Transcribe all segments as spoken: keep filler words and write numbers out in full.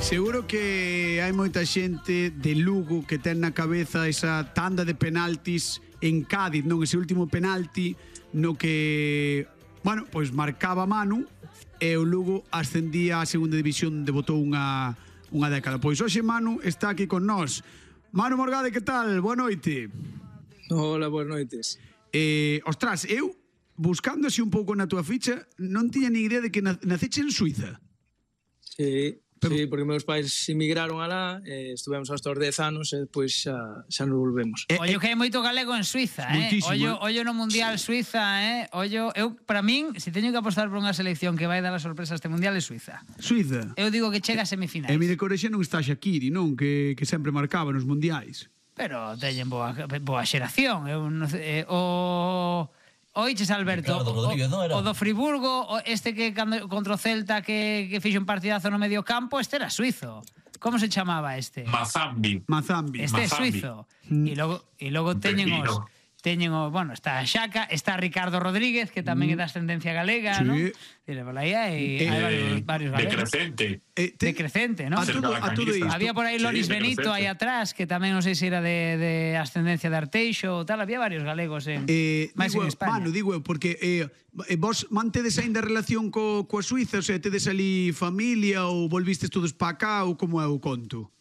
Seguro que hai moita xente de Lugo que ten na cabeza esa tanda de penaltis en Cádiz, non? Ese último penalti no que, bueno, pois marcaba Manu e o Lugo ascendía á segunda división, debutou unha, unha década. Pois hoxe Manu está aquí con nós. Manu Morgade, que tal? Boa noite. Hola, boas noites. Eh, ostras, eu, buscando así un pouco na túa ficha, non tiña ni idea de que naceche en Suiza. Sí, pero... sí, porque meus pais emigraron alá, eh, estuvemos hasta os dez anos e depois xa, xa nos volvemos. Eh, Ollo que hai moito galego en Suiza, eh? Ollo, ollo no Mundial Suiza, eh? Ollo, eu, para min, se teño que apostar por unha selección que vai dar a sorpresa este Mundial é Suiza. Suiza? Eu digo que chega a semifinais. E mire, Corexa non está Shaqiri, non? Que, que sempre marcaba nos Mundiais. Pero teñen boa, boa xeración. Eu non sei, eh, o... Oiches, Alberto, o, o do Friburgo, o este que cando, contra o Celta que, que fixo un partidazo no medio campo, este era suizo. Como se chamaba este? Mazambi. Mazambi. Este é Mazambi. suizo. E logo, e logo teñen os... Pepino. Teñen o, bueno, está Xaca, está Ricardo Rodríguez, que tamén é de ascendencia galega, Sí. ¿no? Dile, por aí hai, Eh, hai varios, varios galegos. Decrecente. Eh, te- Decrecente, ¿no? A todo, a todo isto. Había por aí Loris Sí, Benito decrecente. aí atrás, que tamén non sei se era de, de ascendencia de Arteixo ou tal, había varios galegos en, Eh, máis digo, en España. Manu, digo eu, porque eh, eh, vos mantedes aínda relación co, coa Suiza, o sea, tedes ali familia ou volvistes todos pa cá ou como é o conto?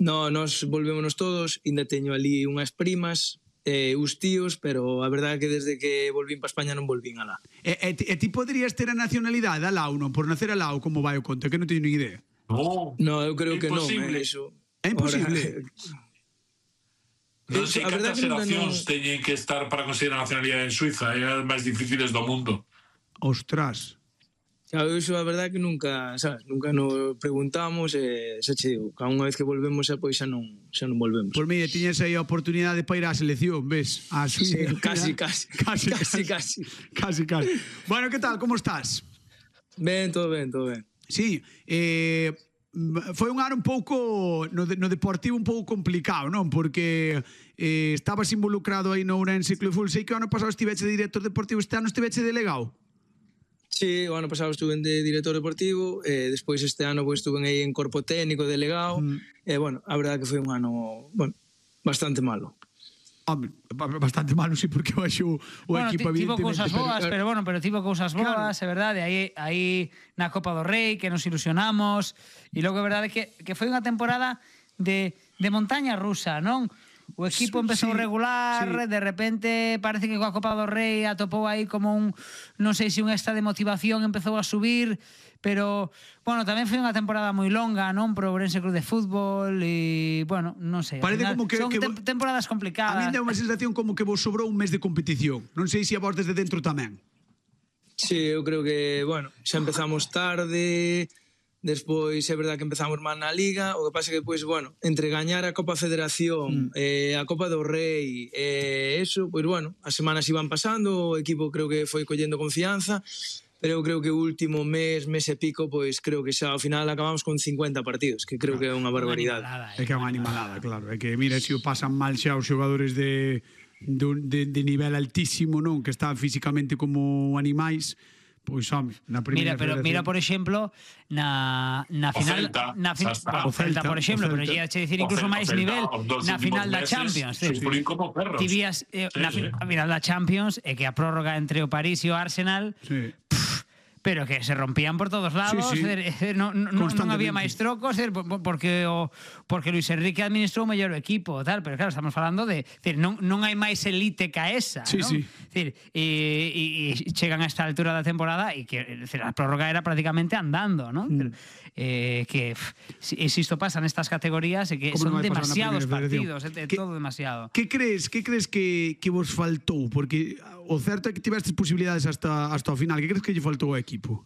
No, nos volvémonos todos, ainda teño ali unhas primas, eh, os tíos, pero a verdade é que desde que volvín pa España non volvín alá. E, e, ti- e ti poderías ter a nacionalidade alá ou non? Por nacer alá ou como vai o conto? Que non teño ni idea. No, No, eu creo que non, imposible. eh, eso. É imposible. Non sei A verdade cantas que nunca xeracións non- teñen que estar para conseguir a nacionalidade en Suiza, é as máis difíciles do mundo. Ostras. Xa, iso a verdade é que nunca, sabes, nunca nos preguntamos e xa che digo, cada unha vez que volvemos xa pois xa non, xa non volvemos. Por mí, tiñes aí a oportunidade para ir á selección, ves? A Suiza. Sí, casi, casi. Casi, Casi, casi. casi. Casi, casi. Bueno, que tal? Como estás? Ben, todo ben, todo ben. Sí, eh, foi un ano un pouco no, de, no deportivo un pouco complicado, non? Porque eh, estabas involucrado aí no Ourense Club de Fútbol. Sei que o ano pasado estiveche de director deportivo, este ano estiveche delegado. Sí, o ano pasado estuve de director deportivo, e despois este ano pois estuve aí en corpo técnico, delegado, Mm. e bueno, a verdade que foi un ano, bueno, bastante malo. Home, bastante malo, sí, porque baixo o Bueno, equipo ti- tivo cousas pero- boas, pero bueno, pero tivo cousas boas, é verdade, aí aí na Copa do Rei que nos ilusionamos, e logo é verdade que que foi unha temporada de de montaña rusa, non? O equipo empezou Sí, regular, sí. de repente parece que coa Copa do Rei atopou aí como un, non sei se un extra de motivación empezou a subir, pero, bueno, tamén foi unha temporada moi longa, non? Pro Ourense Club de Fútbol e, bueno, non sei. ao Parece final como que- son que tem- vo- temporadas A complicadas. mí dá unha sensación como que vos sobrou un mes de competición. Non sei se a vos desde dentro tamén. Sí, eu creo que, bueno, xa empezamos tarde, despois é verdade que empezamos mal na Liga, o que pasa que, pois, bueno, entre gañar a Copa Federación, mm. eh, a Copa do Rei, e eh, eso, pois, bueno, as semanas iban pasando, o equipo creo que foi collendo confianza, pero eu creo que o último mes, mes e pico, pois creo que xa ao final acabamos con cincuenta partidos, que creo que é unha barbaridade. É que é unha animalada, claro. É que, mira, se o pasan mal xa os xogadores de, de, de, de nivel altísimo, non? Que están físicamente como animais, pois, home, na primeira Mira, pero federación. mira, por exemplo, na, na O final... Celta, na fi- xa está. o Celta, por O exemplo, Celta. pero lle che dicir O incluso Celta, máis o Celta, nivel os dos na últimos final da meses Champions. sufrín como perros. Ti vías, eh, Sí, na fi- sí. a final da Champions e que a prórroga entre o París e o Arsenal, Sí. pero que se rompían por todos lados, Sí, sí. é dicir, non, non, non Constantemente. había máis trocos, é dicir, por- porque o porque Luis Enrique administrou mellor o equipo, tal, pero claro, estamos falando de, é dicir, non non hai máis elite ca esa, Sí, non? sí. É dicir, e, e, e chegan a esta altura da temporada e que é dicir, a prórroga era prácticamente andando, non? Mm. Eh, que pff, si, e si isto pasa nestas categorías é que Como non son vai pasar na demasiados primeira partidos, federación? é, é Que- todo demasiado. Que crees, que crees que, que vos faltou? Porque o certo é que tivestes posibilidades hasta, hasta o final. Que crees que lle faltou ao equipo?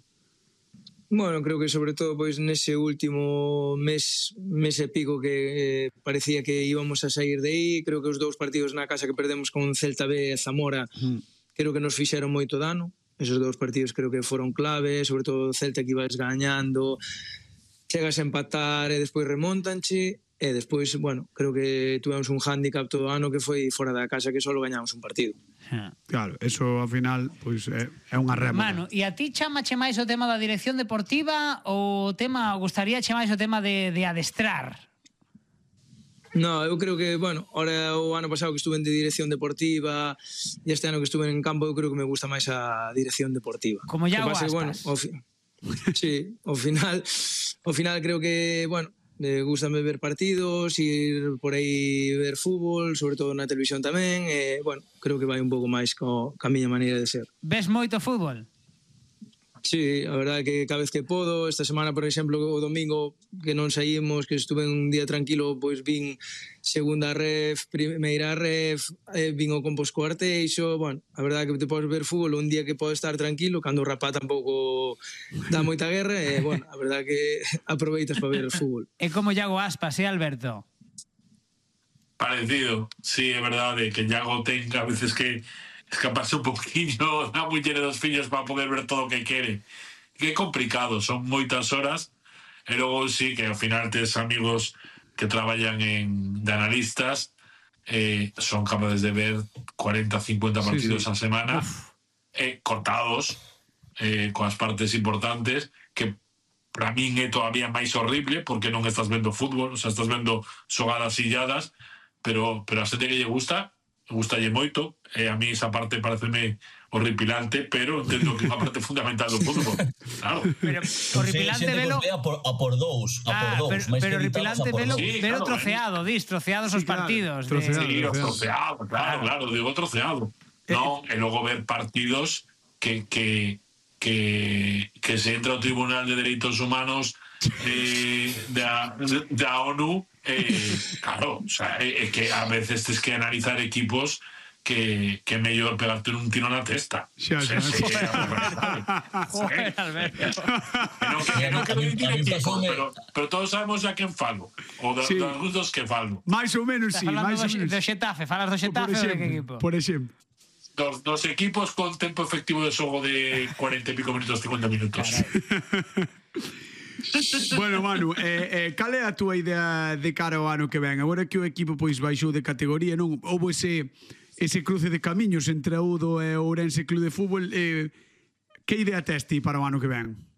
Bueno, creo que sobre todo pois nese último mes, mes e pico que eh, parecía que íbamos a sair de aí, creo que os dous partidos na casa que perdemos con Celta B e Zamora, Mm. creo que nos fixeron moito dano. Esos dous partidos creo que foron clave, sobre todo Celta que ibas gañando, chegas a empatar e despois remontanche, e despois, bueno, creo que tuvemos un hándicap todo o ano que foi fora da casa que só gañamos un partido. Claro, eso ao final pois é, é unha rémora. Manu, e a ti chamache máis o tema da dirección deportiva ou o tema, gustaríache máis o tema de, de adestrar? No, eu creo que, bueno, ahora o ano pasado que estuve en de dirección deportiva e este ano que estuve en campo, eu creo que me gusta máis a dirección deportiva. Como ya o Aspas. Bueno, o fi... sí, ao final, ao final creo que, bueno, me gustame ver partidos, ir por aí ver fútbol, sobre todo na televisión tamén, e, bueno, creo que vai un pouco máis co, ca miña maneira de ser. Ves moito fútbol? Sí, a verdade que cada vez que podo, esta semana, por exemplo, o domingo que non saímos, que estuve un día tranquilo, pois vin segunda ref, primeira ref, eh, vin o Compos co Arteixo, bueno, a verdade que te podes ver fútbol un día que podes estar tranquilo, cando o rapaz tampouco dá moita guerra, e, bueno, a verdade que aproveitas para ver o fútbol. É como Iago Aspas, eh, Alberto? Parecido, sí, é verdade que Iago ten a veces que escaparse un poquinho da muller e dos fillos para poder ver todo o que quere. Que é complicado, son moitas horas, e logo sí que ao final tes amigos que traballan en, de analistas, eh, son capaces de ver cuarenta, cincuenta partidos sí, sí. a semana, eh, cortados, eh, coas partes importantes, que para min é todavía máis horrible, porque non estás vendo fútbol, o sea, estás vendo xogadas illadas, pero, pero a xente que lle gusta, gustalle moito, e a mí esa parte pareceme horripilante, pero entendo que é unha parte fundamental do fútbol. Claro. Pero horripilante velo a por, a por dous, a ah, por dous, pero, pero horripilante velo, sí, velo claro, troceado, dis, troceados sí, os partidos. Claro, de... troceado, sí, troceado. os troceado, claro, claro, digo troceado. No, e logo ver partidos que que que que se entra ao Tribunal de Dereitos Humanos eh, da, da ONU, eh, claro, o sea, é, é que a veces tens que analizar equipos que, que é mellor pegarte un tiro na testa. Xa, xa, sí, sí, Joder, Alberto. Non que non quero dicir equipos, pero, pero todos sabemos a quen falo, ou da, sí. das gustos que falo. Mais ou menos, sí, máis ou menos. Do Xetafe, falas do Xetafe ou de que equipo? Por exemplo. Dos, dos equipos con tempo efectivo de xogo de cuarenta e pico minutos, cincuenta minutos. Bueno, Manu, eh, eh, cal é a túa idea de cara ao ano que ven? Agora que o equipo pois baixou de categoría, non? Houve ese, ese cruce de camiños entre a Udo e o Ourense Club de Fútbol. Eh, que idea tes ti para o ano que ven?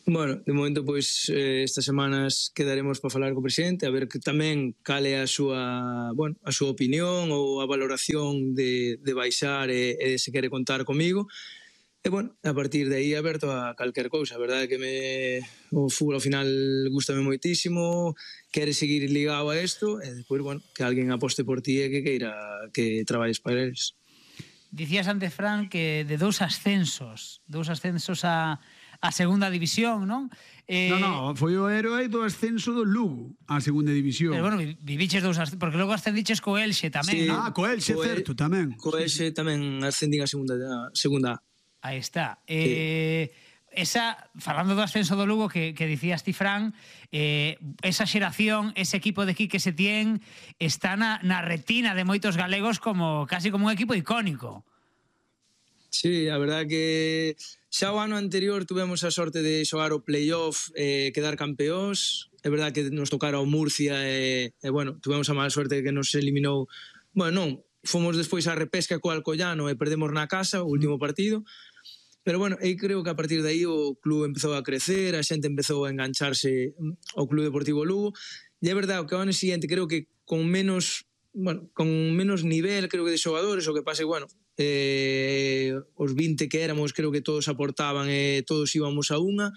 Bueno, de momento, pois, eh, estas semanas quedaremos para falar co presidente, a ver que tamén cale a súa, bueno, a súa opinión ou a valoración de, de baixar e, e se quere contar comigo. E, bueno, a partir de aí aberto a calquer cousa. A verdade é que me, o fútbol ao final gustame moitísimo, quere seguir ligado a isto, e depois, bueno, que alguén aposte por ti e que queira que traballes para eles. Dicías antes, Fran, que de dous ascensos, dous ascensos a... a segunda división, non? Eh, no, no, foi o héroe do ascenso do Lugo á segunda división. Pero bueno, viviches dous ascensos, porque logo ascendiches co Elxe tamén, sí, non? Ah, co Elxe, co certo, tamén. Co Elxe tamén ascendín a segunda, a segunda. Aí está. Eh, sí. Esa, falando do ascenso do Lugo que, que dicías ti, Fran, eh, esa xeración, ese equipo de Quique Setién está na, na retina de moitos galegos como casi como un equipo icónico. Sí, a verdade que xa o ano anterior tuvemos a sorte de xogar o playoff e eh, quedar campeóns. É verdade que nos tocara o Murcia e, e bueno, tuvemos a mala sorte de que nos eliminou. Bueno, non, fomos despois a repesca co Alcoyano e perdemos na casa o último partido. Pero bueno, eu creo que a partir de aí o club empezou a crecer, a xente empezou a engancharse ao Club Deportivo Lugo. E é verdade que o ano seguinte creo que con menos, bueno, con menos nivel, creo que de xogadores, o que pase, bueno, eh, os vinte que éramos creo que todos aportaban e todos íbamos a unha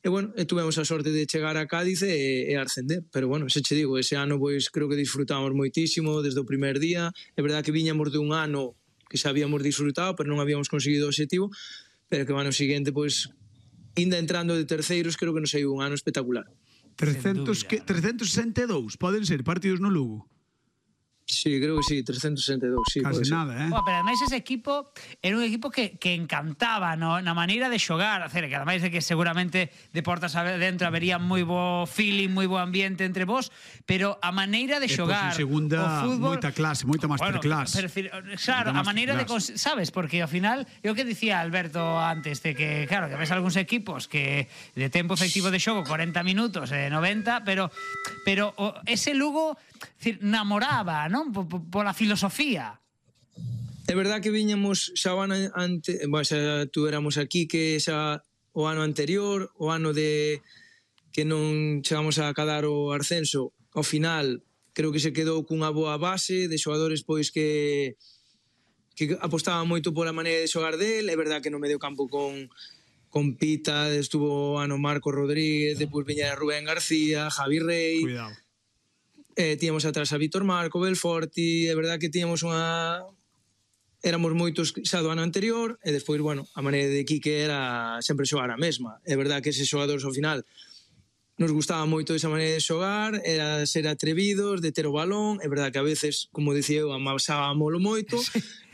e bueno, e tuvemos a sorte de chegar a Cádiz e, e ascender, pero bueno, se che digo, ese ano pois creo que disfrutamos moitísimo desde o primer día. É verdade que viñamos de un ano que xa habíamos disfrutado, pero non habíamos conseguido o objetivo, pero que o ano seguinte pois ainda entrando de terceiros creo que nos saiu un ano espectacular. trescentos, que, trescentos sesenta e dous poden ser partidos no Lugo. Sí, creo que sí, trescentos sesenta e dous, sí. Casi nada, eh? Oh, pero ademais ese equipo era un equipo que, que encantaba no? Na maneira de xogar, a que ademais de que seguramente de portas adentro habería moi bo feeling, moi bo ambiente entre vos, pero a maneira de xogar, e, pois, en segunda, o fútbol, moita clase, moita masterclass. Bueno, claro, a maneira de, sabes, porque ao final, eu que dicía Alberto antes, de que, claro, que ves algúns equipos que de tempo efectivo de xogo corenta minutos, eh, noventa, pero pero o, ese Lugo decir, namoraba, non? Pola filosofía. É verdad que viñamos xa o ano antes, bueno, xa tú éramos aquí, que xa o ano anterior, o ano de que non chegamos a cadar o ascenso, ao final creo que se quedou cunha boa base de xogadores pois que que apostaban moito pola maneira de xogar del. É verdad que no medio campo con con Pita estuvo o ano Marco Rodríguez, depois viñera Rubén García, Javi Rey. Cuidado. Eh, tíamos atrás a Vítor Marco, Belforti, é verdad que tíamos unha... Éramos moitos xa do ano anterior, e despois, bueno, a maneira de Quique era sempre xogar a mesma. É verdad que eses xogadores ao final nos gustaba moito esa maneira de xogar, era ser atrevidos, de ter o balón, é verdad que a veces, como dicía eu, amasábamolo moito,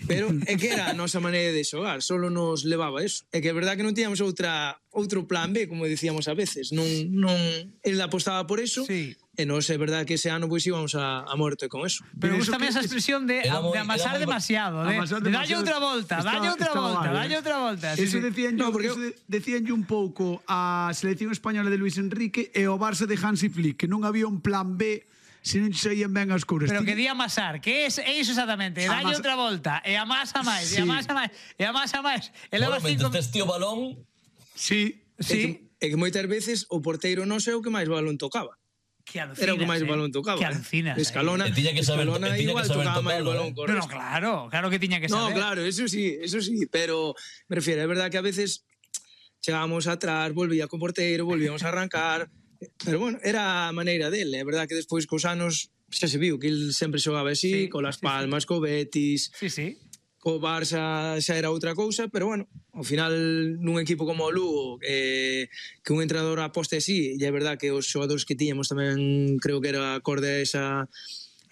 pero é que era a nosa maneira de xogar, solo nos levaba eso. É que é verdad que non tíamos outra outro plan B, como dicíamos a veces, non, non, el apostaba por eso, sí. E nos é verdad que ese ano pois íbamos a, a muerte con eso. Pero gustame esa expresión de, muy, de amasar demasiado, de, amasar de dalle demasiado. outra volta, Estaba- dalle outra estaba volta, mal, dalle eh. outra volta. Sí, Eso sí. decían No, yo, porque eso de, decían un pouco a selección española de Luis Enrique e o Barça de Hansi Flick, que non había un plan B se non saían ben as couras. Pero Ti- que di amasar, que é iso exactamente, dalle Amasa- outra volta, e amasa máis, e Sí. amasa máis, e amasa máis. E Bueno, levas cinco... mentres tes tío balón, Sí. É Sí, que, é que moitas veces o porteiro non sei o que máis balón tocaba. que alucinas, Era o que máis eh? balón tocaba. Que alucinas. eh. Escalona, E tiña que saber- Escalona e tiña que igual saber tocaba máis tocalo, balón eh. co No, no, resto. claro, claro que tiña que No, saber. claro, eso sí, eso sí, pero me refiero, é verdad que a veces chegábamos atrás, volvía con porteiro, volvíamos a arrancar, pero bueno, era a maneira dele, é verdad que despois cos anos xa se viu que el sempre xogaba así, Sí, con Las sí, sí. Palmas, co Betis, Sí, sí. co Barça xa era outra cousa, pero bueno, ao final nun equipo como o Lugo, eh, que un entrenador aposte así, e é verdad que os xogadores que tiñamos tamén creo que era acorde a esa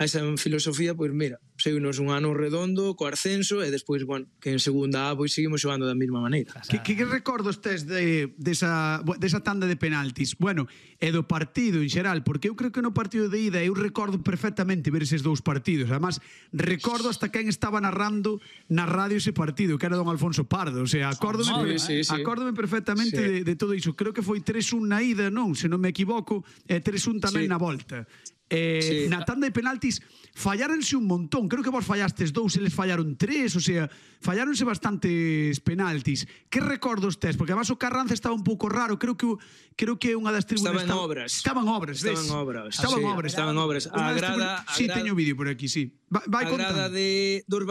a esa filosofía, pois mira, seguimos un ano redondo co ascenso e despois, bueno, que en segunda A pois seguimos xogando da mesma maneira. Que, que, que recordos tes de, desa, de desa tanda de penaltis? Bueno, e do partido en xeral, porque eu creo que no partido de ida eu recordo perfectamente ver eses dous partidos. Además, recordo hasta quen estaba narrando na radio ese partido, que era don Alfonso Pardo. O sea, acórdome, Sí, sí, sí. acórdome perfectamente Sí. de, de todo iso. Creo que foi tres un na ida, non? Se non me equivoco, e tres un tamén Sí. na volta. Eh, Sí. na tanda de penaltis falláronse un montón. Creo que vos fallastes dous, eles fallaron tres, o sea, falláronse bastantes penaltis. Que recordos tes? Porque además o Carranza estaba un pouco raro. Creo que o- creo que unha das tribunas Estaba en obras. Estaban obras, ves? Estaban obras, Estaban sí, obras. estaban obras. A Unha das grada- tribunas- a Sí, grada- teño vídeo por aquí, sí. Va, vai A grada contando. de dos